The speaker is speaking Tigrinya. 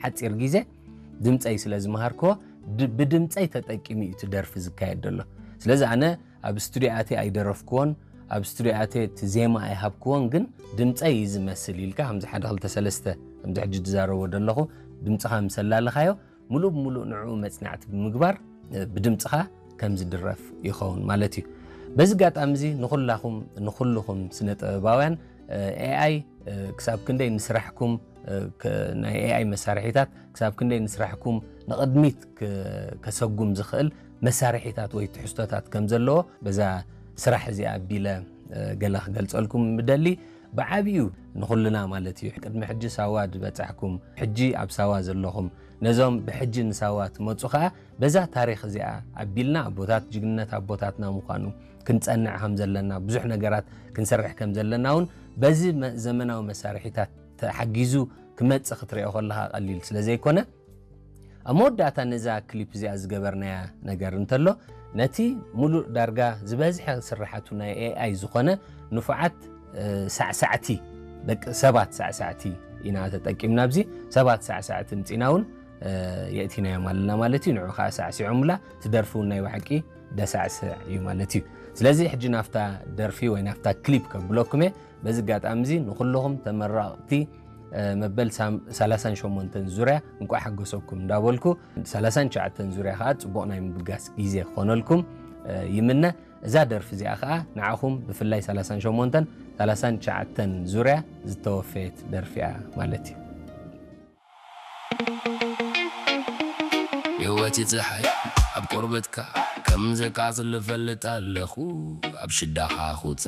ሓፂር ግዜ ድምፀይ ስለ ዝመሃርክዎ፣ ድ- ብድምፀይ ተጠቂሙ እዩ እቲ ደርፊ ዝካየድ ዘሎ። ስለዚ ኣነ ኣብ ስቱዲዮ ኣትየ ኣይደረፍክዎን፣ ኣብ ስቱዲዮ ኣትየ እቲ ዜማ ኣይሃብክዎን፣ ግን ድምፀይ እዩ ዝመስል ኢልካ፣ ከምዚ ሓደ ክልተ ሰለስተ፣ ከምዚ ሕጂ ዝዛረቦ ዘለኹ፣ ድምፅኻ ምስ ኣላለኻዮ፣ ሙሉእ ብሙሉእ ንዕኡ መፅናዕቲ ብምግባር፣ እ፣ ብድምፅኻ ከም ዝድረፍ ይኸውን ማለት እዩ። በዚ ኣጋጣሚ እዚ ንኹላኹም፣ ንኹልኹም ስነ ጥበባውያን፣ እ፣ ኤኣይ፣ እ፣ ክሳብ ክንደይ ንስራሕኩም፣ እ፣ ከ-፣ ናይ ኤኣይ መሳርሒታት ክሳብ ክንደይ ንስራሕኩም ንቕድሚት ከ-፣ ከሰጉም ዝኽእል መሳርሒታት ወይ ትሕዝቶታት ከም ዘለዎ በዛ ስራሕ እዚኣ ኣቢለ፣ እ፣ ገለ ክገልጸልኩም ምደሊ። ብዓቢኡ ንኹልና ማለት እዩ። ቅድሚ ሕጂ ሳዋ ዝበጻሕኩም፣ ሕጂ ኣብ ሳዋ ዘለኹም፣ ነዞም ብሕጂ ንሳዋ ትመጹ ኸኣ በዛ ታሪኽ እዚኣ ኣቢልና ኣቦታት ጅግንነት ኣቦታትና ምዃኑ ክንጸንዕ ከም ዘለና፣ ብዙሕ ነገራት ክንሰርሕ ከም ዘለና እውን በዚ መ-፣ ዘመናዊ መሳርሒታት ተሓጊዙ ክመጽእ ክትሪኦ ከለኻ ቀሊል ስለ ዘይኮነ፣ ኣብ መወዳእታ ነዛ ክሊፕ እዚኣ ዝገበርናያ ነገር እንተሎ፣ ነቲ ሙሉእ ዳርጋ ዝበዝሐ ስራሓቱ ናይ ኤኣይ ዝኾነ ንፉዓት፣ እ፣ ሳዕሳዕቲ፣ ደቂ ሰባት ሳዕሳዕቲ ኢና ተጠቂምና። ኣብዚ ሰባት ሳዕሳዕቲ ምጺና እውን፣ እ፣ የእቲናዮም ኣለና ማለት እዩ። ንዑ ከዓ ሳዕሲዖምላ፣ ትደርፊ እውን ናይ ብሓቂ ደሳዕስዕ እዩ ማለት እዩ። ስለዚ ሕጂ ናብታ ደርፊ ወይ ናብታ ክሊፕ ከብለኩም እየ። በዚ ኣጋጣሚ እዚ ንኹልኹም ተመራቕቲ፣ እ፣ መበል ሳም-፣ ሰላሳን ሸሞንተን ዙርያ እንቋዕ ሓጎሰኩም እንዳበልኩ፣ ሰላሳን ትሽዓተን ዙርያ ከዓ ጽቡቕ ናይ ምብጋስ ግዜ ክኾነልኩም፣ እ፣ ይምነ። እዛ ደርፊ እዚኣ ከዓ ንዓኹም ብፍላይ ሰላሳን ሸሞንተን፣ ሰላሳን ትሽዓተን ዙርያ ዝተወፈየት ደርፊ እያ ማለት እዩ። ህይወት ይፀሓይ ኣብ ቆርበትካ ከም ዘቃፅል እፈልጥ ኣለኹ። ኣብ ሽዳኻ ኹፃ